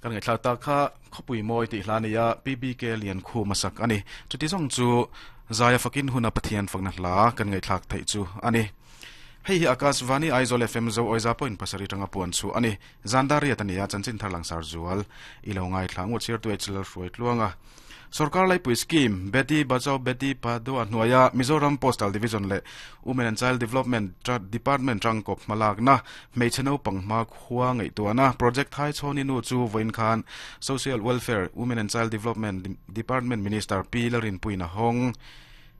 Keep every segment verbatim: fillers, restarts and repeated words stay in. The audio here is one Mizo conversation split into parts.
Kan ngai thla ta kha khopui moi ti hlania P B K lian khu masak ani chuti zong chu zaya fakin huna pathian fakna hla kan ngai thlak thei chu ani hei hi Akashvani Aizawl F M zo oiza point pasari tanga puan chu ani zandaria tania chanchin tharlang sar zual ilo ngai thla ngu chir tu hl hruai tluanga Sarkar Lai Pui Scheme Beti Bachao Beti Padhao hnuaia Mizoram Postal Division le Women and Child Development Department tangkop malak na hmeichhe naupang hma khua ngei tuana project thai chhoni nu chu voin khan Social Welfare Women and Child Development Department Minister P Larin Puina Hong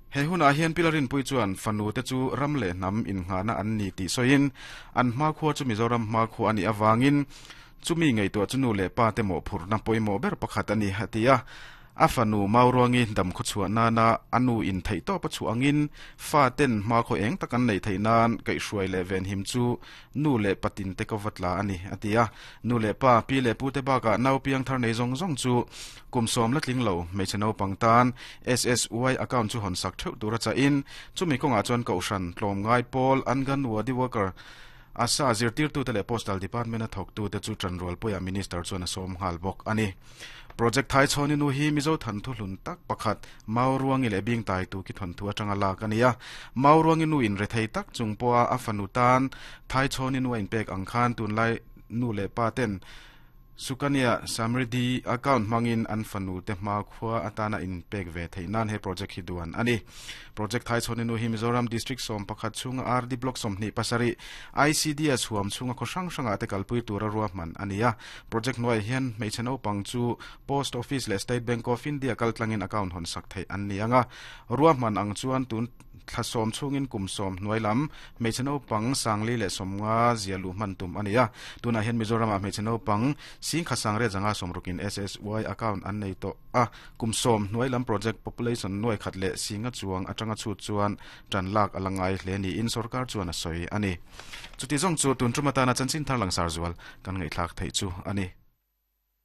he huna hian pilarin pui chuan fanu te chu ram le nam in ngana an ni ti soin an hma khua chu Mizoram hma khua ani awangin chumi ngei to chu nu le pa te mo phurna poimo ber pakhat ani hatia afanu maurongi dam khu chua na na anu in thei to pa chu angin fa ten ma kho eng takan nei thei nan kai hruai le ven him chu nu le patin te ko vatla ani atia nu le pa pi le pu te ba ka nau piang thar nei zong zong chu kumsom la tling lo meicheno pangtan S S Y account chu hon sak theu tura cha in chumi konga chuan ko shan tlom ngai pol angan wadi worker asa zirtir tu tele postal department a thok tu te chu tranrol poya minister chuan a som hal bok ani project thai chhoni nu hi mizo than thu hlun tak pakhat mauruangi le bing tai tu ki thon thu atanga la kania mauruangi nu in re thei tak chung poa afanu tan thai chhoni nu in pek angkhan tun lai nu le pa ten Sukanya Samriddhi account mangin an fanu te ma khua atana in pek ve theinan he project hi duan ani project thai chhoni nu hi Mizoram district som pakhat chunga R D block som ni pasari I C D S huam chunga kho sang sanga te kalpui tura ruwa man ania project noi hian hmeichhe naupang chu post office le State Bank of India kaltlangin account hon sak thei an ni anga ruwa man ang chuan tun thlasom chungin kumsom hnuailam hmeichhe naupang sangli le somnga zialu man tum ania tuna hian Mizoram a hmeichhe naupang sing khasang re janga somrukin S S Y account an nei to a kumsom hnuailam project population noi khat le singa chuang atanga chu chuan tan lak alangai hle ni in sarkar chuan a soi ani chuti zong chu tun trumata na chanchin thar lang sar zual kan ngai thlak thei chu ani.